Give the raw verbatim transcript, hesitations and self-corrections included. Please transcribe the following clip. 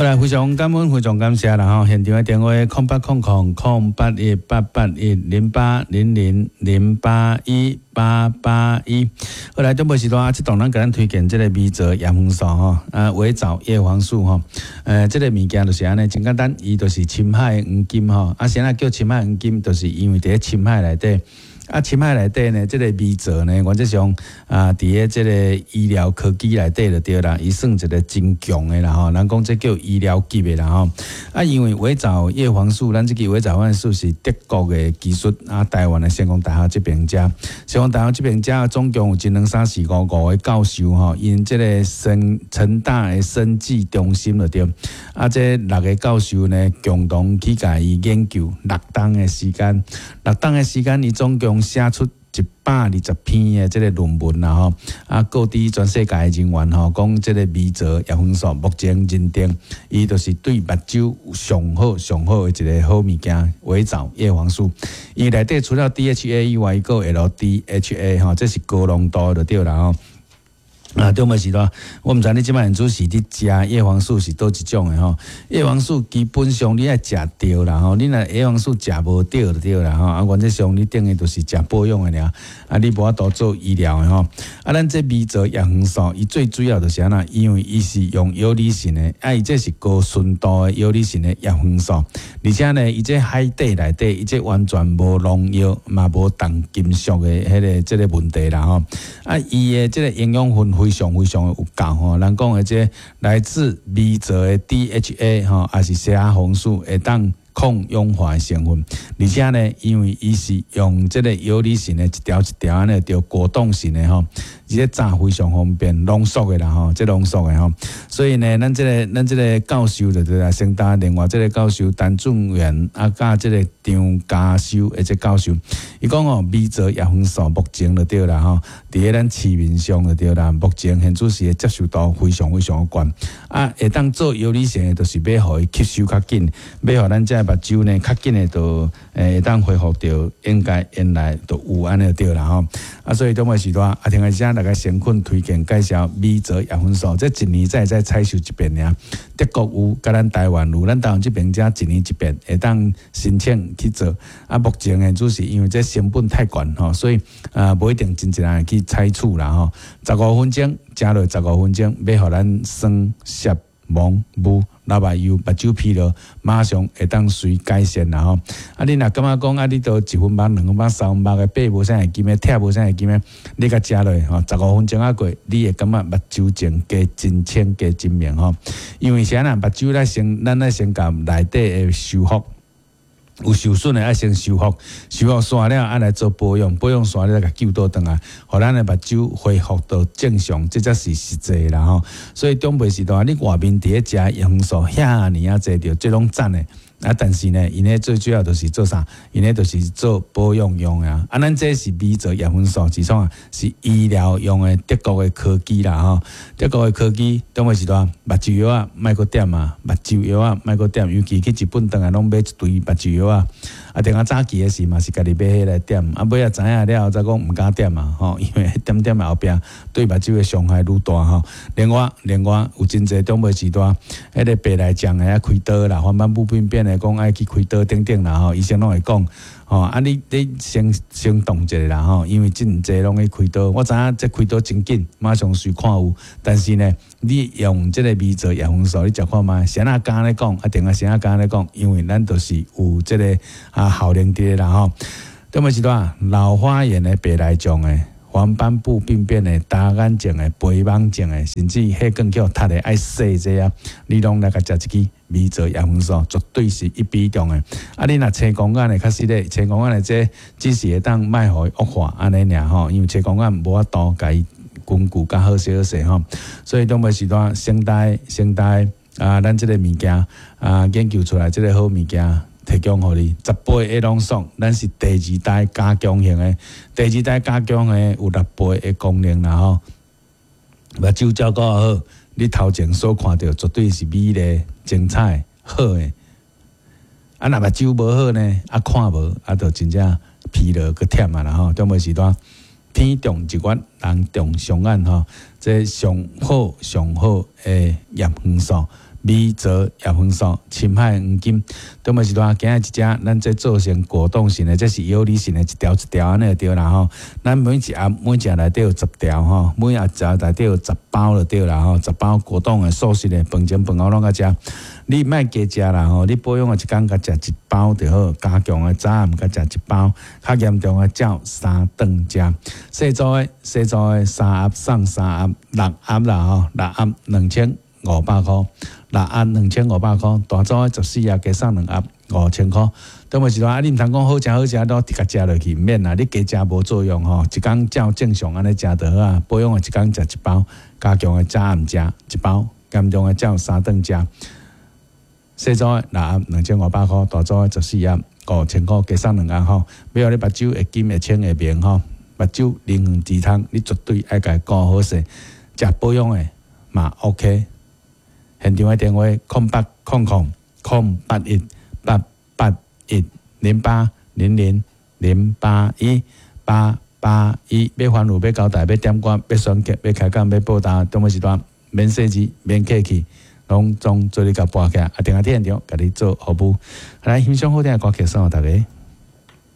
好來，非常感恩，非常感謝啦吼！現場的電話空八空空空八一八八一零八零零零八一八八一。好來，中晡時段啊，這檔咱共咱推薦這个微藻葉黃素吼，啊，微藻葉黃素吼，呃，這个物件就是按呢，真簡單，伊就是深海黃金吼，啊，啥物叫深海黃金？就是因為佇咧深海內底。啊，深海內底呢，這个微藻呢，原則上啊，佇咧這个醫療科技內底就對啦，伊算一个真強的啦吼。人講這叫醫療級的啦吼。啊，因為微藻葉黃素，咱這支微藻葉黃素是德國的技術，啊，台灣的成功大學這邊遮，成功大學這邊遮總共有一兩三四五五个教授吼，𪜶這个生成大的生技中心就對。啊，這六个教授呢，共同去共伊研究六冬的時間，六冬的時間，伊總共寫出一百二十篇的這个論文啦吼，啊，告知全世界的人員吼，講這个微藻葉黃素目前認定，伊就是對目睭上好上好的一个好物件，微藻葉黃素。伊內底除了 D H A 以外，閣有 L D H A 吼，這是高濃度的就對啦吼。啊，中晡時段，我毋知你這擺主是佇食葉黃素是佗一種的吼。葉黃素基本上你愛食對啦吼，你若葉黃素食無對就對啦吼。啊，原則上你等於就是食保養的爾，啊，你無法度做醫療的吼。啊，咱這微藻葉黃素，伊最主要就是按怎？因為伊是用游離型的，啊，伊這是高純度的游離型的葉黃素，而且呢，伊這海底內底，伊這完全無農藥，嘛無重金屬的彼个這个問題啦吼。啊，伊的這个營養分非常非常的有夠吼，人講的這來自微藻的 D H A 吼，也是蝦紅素會當抗氧化的成分，而且呢，因為伊是用這个游離型的一條一條按呢，著果凍型的吼，而且炸非常方便，濃縮的啦吼，這濃縮的吼，所以呢，咱這个咱這个教授就對啦，成大另外這个教授陳俊元啊，佮這个張家修的這教授，伊講哦，微藻葉黃素目前就對啦吼，佇咧咱市面上就對啦，目前現主時的接受度非常非常懸，啊，會當做游離型的，就是欲予伊吸收較緊，欲予咱這目睭呢較緊的，就會當恢復著應該原來就有按呢對啦吼。啊，所以中晡時段，啊，聽下遮大家誠懇推薦介紹微藻葉黃素，這一年才會使採收一遍爾。德國有，佮咱台灣有，咱台灣這邊遮一年一遍會當申請去做。啊，目前呢，主是因為這成本太懸吼，所以啊，無一定真濟人去採取啦吼。十五分鐘，食落十五分鐘，欲予咱酸澀蒙霧流目油、目睭疲勞，馬上會當隨改善啦吼。啊，你若感覺講啊，你都一分目、兩分目、三分目的爬無啥會金的，拆無啥會金的，你共食落吼，十五分鐘仔過，你會感覺目睭前加真清、加真明吼。因為啥啦？目睭咱先，咱愛先共內底的修復。有受損的愛先修復，修復煞了，愛來做保養，保養煞了，共救倒轉來，予咱的目睭恢復到正常，這才是實際啦吼。所以長輩時代，你外面佇咧食葉黃素遐爾仔濟著，這攏讚的。啊，但是呢，𪜶咧最主要就是做啥？𪜶咧就是做保養用的啊。啊，咱這是微藻葉黃素，是創啊？是醫療用的德國的科技啦吼。德國的科技，長輩時代目睭藥仔莫閣點啊，目睭藥仔莫閣點，尤其去日本轉來攏買一堆目睭藥仔。啊，定啊早期的時嘛是家己買彼來點，啊，尾仔知影了後才講毋敢點啊，吼，因為點點後壁對目睭的傷害愈大吼。另外，另外有真濟長輩時代，彼个白內障的啊開刀啦，黃斑部病變的講愛去開刀等等啦吼，醫生攏會講吼，啊你你先先動一下啦吼，因為真濟攏去開刀，我知影這開刀真緊，馬上隨看有，但是呢，你用這个微藻葉黃素，你食看覓，啥人敢咧講，啊定啊啥人敢咧講，因為咱就是有這个啊效能佇咧啦吼。長輩時代老花眼的白內障的。黃斑部病變的、乾眼症的、肥網症的，甚至血管叫塞的愛洗這啊，你攏來共食一支微藻葉黃素，絕對是一比中的。啊，你若青光眼的，較實咧，青光眼的這只是會當莫予伊惡化按呢爾吼，因為青光眼無法度共伊根據較好勢好勢吼。所以長輩時代，成大成大啊，咱這个物件啊，研究出來這个好物件。提供予你十倍的濃縮，咱是第二代加強型的，第二代加強的有六倍的功能啦吼。目睭照顧好，你頭前所看著絕對是美麗、精彩、好的。啊，若目睭無好呢，啊看無，啊就真正疲勞閣忝啊啦吼。中晡時段，天長一月，人長雙眼吼，這上好上好的葉黃素。米泽叶黄素、深海黄金。中晡时段今仔一只，咱這做成果凍型的，這是游離型的，一條一條按呢就對啦吼。咱每一盒每一盒內底有十條吼，每盒一內底有十包就對啦吼，十包果凍的素食的，飯前飯後攏愛食。你莫加食啦吼，你保養的一工共食一包就好，加強的早暗共食一包，較嚴重的照三頓食。細組的細組的三盒送三盒，六盒啦吼，六盒兩千五百箍，六盒兩千五百箍，大組的十四盒加送兩盒五千箍。中晡時段啊，你毋通講好食好食，都直共食落去，毋免啦，你加食無作用吼，一工照正常按呢食就好啊。保養的一工食一包，加強的早暗食一包，嚴重的照三頓食。細組的六盒兩千五百箍，大組的十四盒五千箍，加送兩盒吼。欲予你目睭會金會清會明吼，目睭靈魂之窗，你絕對愛共顧好勢，食保養的嘛 OK。現場的電話：空八空空空八一八八一零八零零零八一八八一。欲反覆，欲交代，欲點歌，欲選曲，欲開講，欲報答，中晡時段免細緻，免客氣，攏總做你共撥起來，啊，電話佇現場共你做服務。來欣賞好聽的歌曲，送予大家。